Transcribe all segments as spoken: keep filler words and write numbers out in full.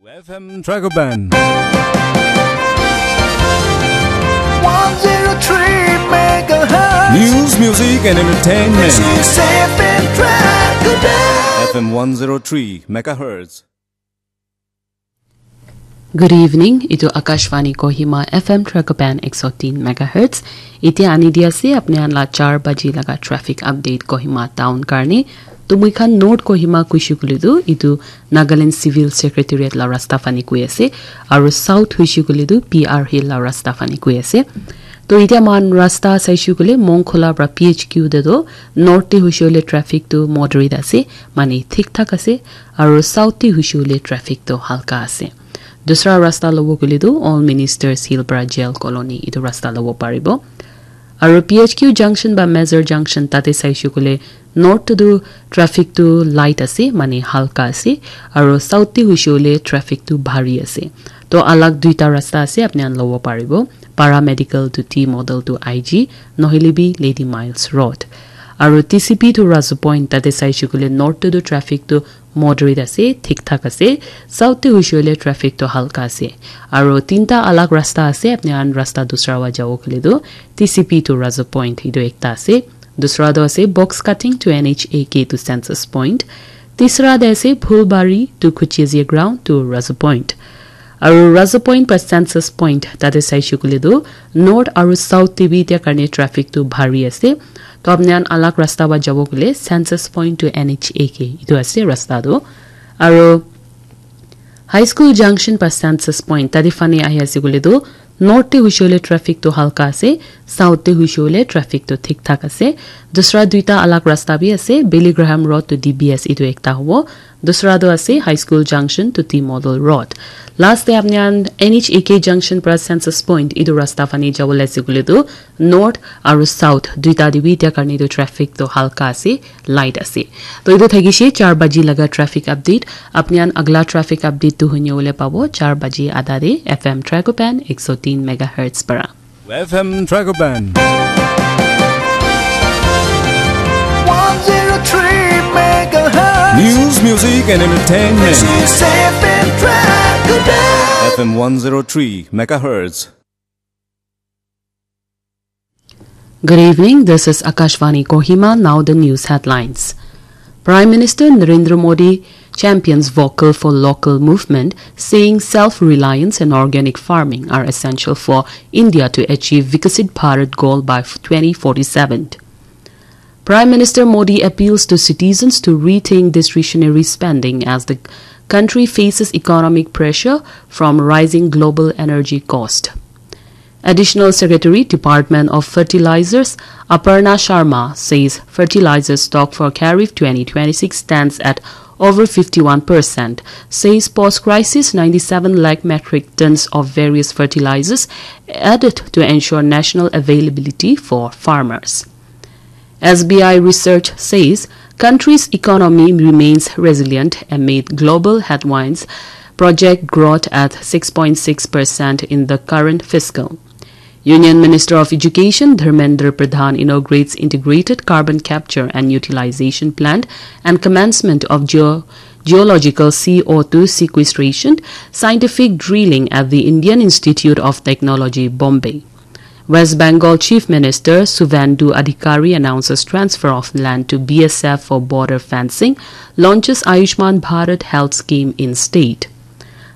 F M Dragoban. One zero three megahertz. News, music, and entertainment. This is F M Dragoban. F M one zero three megahertz. Good evening. Itu Akashvani Kohima F M Dragoban ek sau tin megahertz. Itia ani di ase apni khan la char baji laga traffic update Kohima town karne. To moi khan North Kohima kuishe koile tu itu Nagaland Civil Secretariat la rasta fani koi ase, aru South hoishe koile tu P R Hill la rasta fani koi ase. To itia moikhan rasta saishe koile Mongkhola pra P H Q te tu North te hoishe koile traffic tu moderate ase, mane thik thak ase, aru South te hoishe koile traffic tu halka ase. Dusra rasta lobo koile tu All Ministers Hill pra Jail Colony itu rasta lobo paribo. Aru P H Q junction ba Major junction tate saishe koile North te tu traffic tu light ase, mane halka ase, aru South te hoishe koile traffic tu bhari ase. To alag duita rasta ase, apni khan lobo paribo. Paramedical to T Model to I G, nohile bi Lady Miles Road. Aru T C P to Razu Point, tate saishe koile North te tu traffic tu moderate ase, thik thak ase. South te hoishe koile traffic tu halka ase. Aru tinta alag rasta ase, apni khan rasta dusra wa jabo koile tu T C P to Razu Point, itu ekta ase. Dusra tu ase Box Cutting to N H A K to Census Point. Tisra te ase Phulbari to Kuchezia Ground to Razu Point. Aru Razu Point pra Census Point tate saishe koile tu North aru South te bi itia karne traffic tu bhari ase. To apni khan alag rasta wa jabo koile Census Point to N H A K itu ase rasta tu. Aru High School Junction pra Census Point tate fani ahi ase koile tu North te hoishe koile traffic tu halka ase, South te hoishe koile traffic tu thik thak ase. Dusra duita alag rasta bi ase, Billy Graham Road to D B S itu ekta hobo. Dusra tu ase High School Junction to T Model Road. Last te apni khan N H A K Junction pra Census Point itu rasta fani jabo le ase koile tu North aru South duita te bi itia karne tu traffic tu halka ase, light ase. To itu thakishe char baji laga traffic update. Apni khan agla traffic update tu huni bole pabo char baji adha te F M Dragoban ek sau tin megahertz para. F M Dragoban. One zero three megahertz. News, music, and entertainment. This is F M Dragoban. F M one zero three megahertz. Good evening, this is Akashvani Kohima. Now the news headlines. Prime Minister Narendra Modi champions Vocal for Local movement, saying self-reliance and organic farming are essential for India to achieve Viksit Bharat goal by twenty forty-seven. Prime Minister Modi appeals to citizens to rethink discretionary spending as the country faces economic pressure from rising global energy cost. Additional Secretary, Department of Fertilizers, Aparna Sharma says fertilizer stock for Kharif twenty twenty-six stands at over fifty-one percent, says post-crisis ninety-seven lakh metric tons of various fertilizers added to ensure national availability for farmers. S B I research says country's economy remains resilient amid global headwinds, project growth at six point six percent in the current fiscal. Union Minister of Education Dharmendra Pradhan inaugurates integrated carbon capture and utilization plant and commencement of geo-, geological C O two sequestration scientific drilling at the Indian Institute of Technology, Bombay. West Bengal Chief Minister Suvendu Adhikari announces transfer of land to B S F for border fencing, launches Ayushman Bharat Health Scheme in state.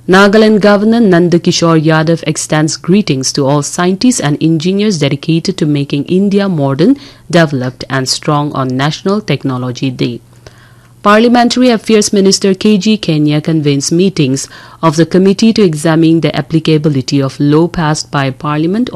Nagaland Governor Nanda Kishore Yadav extends greetings to all scientists and engineers dedicated to making India modern, developed and strong on National Technology Day. Parliamentary Affairs Minister K G Kenia convenes meetings of the committee to examine the applicability of law passed by Parliament